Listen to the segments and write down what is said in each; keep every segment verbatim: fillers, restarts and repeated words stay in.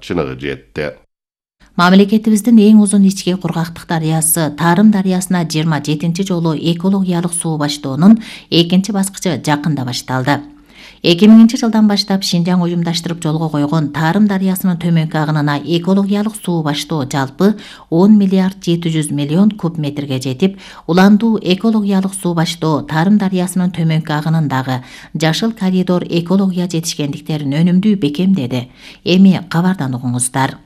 чыныгы жетти. Мамлекетибиздин эң узун ички кургактык дарыясы Тарым дарыясына жыйырма жетинчи жолу экологиялык суу баштоонун экинчи баскычы жакында башталды. эки миңинчи жылдан баштап Шинжаң уюмдаштырып жолго койгон Тарым дарыясынын төмөнкү агынына экологиялык суу баштоо жалпы он миллиард жети жүз миллион куб метрге жетип, уландуу экологиялык суу баштоо Тарым дарыясынын төмөнкү агынындагы жашыл коридор экология жетишкендиктерин өнүмдүү бекемдеди. Эми кабардан угуңуздар.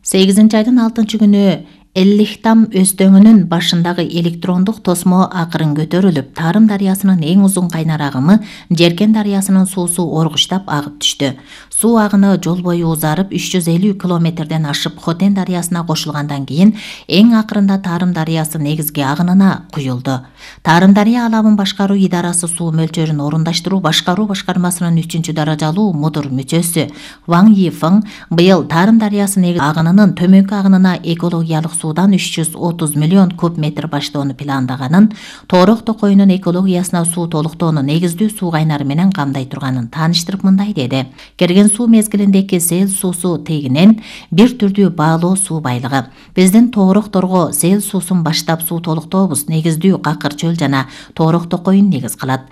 сегизинчи айдын алтынчы күнү Эллихтам өстөңүнүн башындагы электрондук тосмо акырын көтөрүлүп, Тарым дарыясынын эң узун кайнар агымы Жеркен дарыясынын суусу оргуштап агып түштү. Суу агыны жол бою узарып үч жүз элүү километрден ашып Хотен дарыясына кошулгандан кийин эң акырында Тарым дарыясы негизги агынына куюлду. Тарым дарыя алабын башкаруу идарасы суу мөлчөрүн орундаштыруу башкаруу башкармасынын үчүнчү даражалуу мудур мүчөсү Ваң Йифың быйыл Тарым дарыясы негизги агынынын төмөнкү агынына экологиялык суудан үч жүз отуз миллион куб метр баштоону пландаганын, Тоорок токойунун экологиясына суу толуктоону негиздүү суу кайнары менен камдай турганын тааныштырып мындай деди. Келген суу мезгилиндеги сел суусу тегинен бир түрдүү баалоо суу байлыгы. Биздин тоорокторго сел суусун баштап суу толуктообуз негиздүү Какыр чөл жана Тоорок токойун негиз кылат.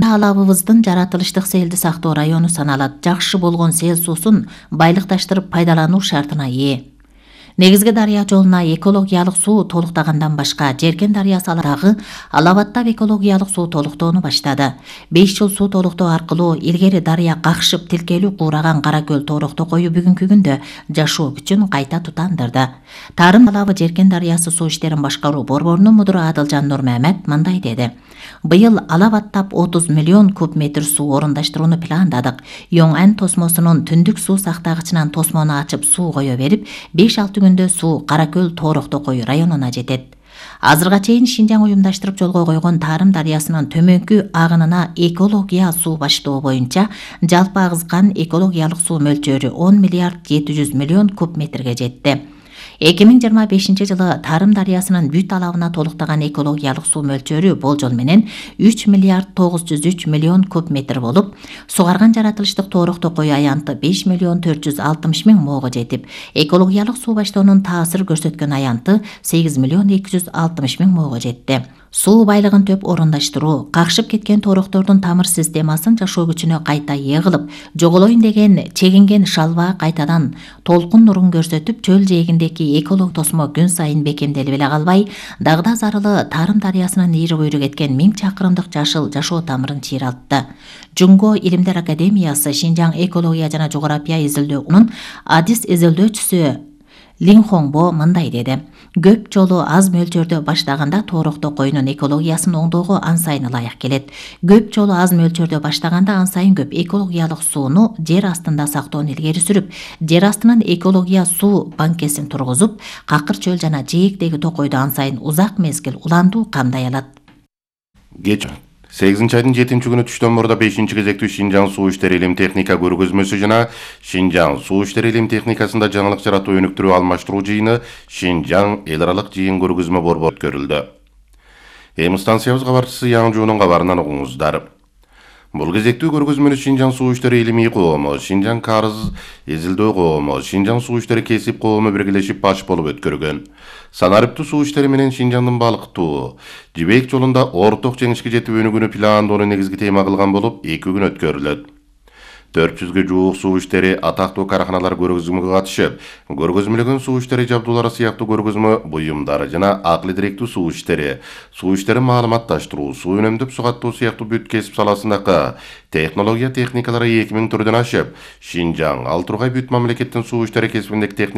Алабыбыздын жаратылыштык селди сактоо району саналат. Жакшы болгон сел суусун байлыкташтырып пайдалануу шартына ээ. Негизги дарыя жолуна экологиялык суу толуктагандан башка Жеркен дарыясы алабындагы алабаттап экологиялык суу толуктоону баштады. беш жыл суу толуктоо аркылуу илгери дарыя какшып тилкелүү куураган Кара көл Тоорок токою бүгүнкү күндө жашоо күчүн кайта тутандырды. Тарым алабы Жеркен дарыясы суу иштерин башкаруу борборунун мудуру Адылжан Нурмамет мындай деди. Быйыл алабаттап отуз миллион куб метр суу орундаштырууну пландадык. Йоңан тосмосунун түндүк суу сактагычынан тосмону ачып суу кое берип, беш алты күндө суу Кара көл Тоорок токою районуна жетет. Азырга чейин Шинжаң уюмдаштырып жолго койгон Тарым дарыясынын төмөнкү агынына экология суу баштоо боюнча жалпы агызган экологиялык суу мөлчөрү он миллиард жети жүз миллион куб метрге жетти. эки миң жыйырма бешинчи жылы Тарым дарыясынын бүт алабына толуктаган экологиялык суу мөлчөрү болжол менен үч миллиард тогуз жүз үч миллион куб метр болуп, сугарган жаратылыштык Тоорок токою аянты беш миллион төрт жүз алтымыш миң моого жетип, экологиялык суу баштоонун таасир көрсөткөн аянты сегиз миллион эки жүз алтымыш миң моого жетти. Суу байлыгын төп орундаштыруу, какшып кеткен тоороктордун тамыр системасын жашоо күчүнө кайта ээ кылып, жоголоюн деген чегинген шалба кайтадан толкун нурун көрсөтүп, чөл жээгиндеки эколог тосмо күн сайын бекемделип эле калбай, дагда зарылы Тарым дарыясынын ийри буйру кеткен миң чакырымдык жашыл жашоо тамырын чыйралтты. Жунго Илимдер Академиясы Шинжаң экология жана жогорапия изилдөөсүнүн адис изилдөөчүсү Линхоңбо мындай деди. Көп жолу аз мөлчөрдө баштаганда Тоорок токоюнун экологиясын оңдоого ан сайын ылайык келет. Көп жолу аз мөлчөрдө баштаганда ан сайын көп экологиялык сууну жер астында сактоону илгери сүрүп, жер астынын экология суу банкесин тургузуп, Какыр чөл жана жээктеги токойду ан сайын узак мезгил уландуу камдай алат. Кеч сегизинчи айдын жетинчи күнү түштөн мурда бешинчи кезектүү Шинжаң суу иштери илим техника көргөзмөсү жана Шинжаң суу иштери илим техникасында жаңылык жаратуу өнүктүрүү алмаштыруу жыйыны Шинжаң эл аралык жыйын көргөзмө борбору өткөрүлдү. Эми станциябыз кабарчысы Яңжуунун кабарынан угуңуздар. Бул кезектүү көргөзмөнү Шинжаң суу иштери илимий коому, Шинжаң карыз изилдөө коому, Шинжаң суу иштери кесип коому биргелешип баш болуп өткөргөн. Санариптүү суу иштери менен Шинжаңдын балыктуу жибек жолунда орток жеңишке жетип өнүгүүнү пландоону негизги тема кылган болуп, эки күн өткөрүлөт. төрт жүзгө жуук суу иштери атактуу караханалар көргөзмөгө катышып, көргөзмөлөгөн суу иштери жабдуулары сыяктуу көргөзмө буюмдары жана акыл идиректүү суу иштери, суу иштери маалыматташтыруу, суу үнөмдөп сугаттоо сыяктуу бүт кесип саласындагы технология техникалары эки миң түрдөн ашып, Шинжаң, Ал Тургай бүт мамлекеттин суу иштери кесибиндеги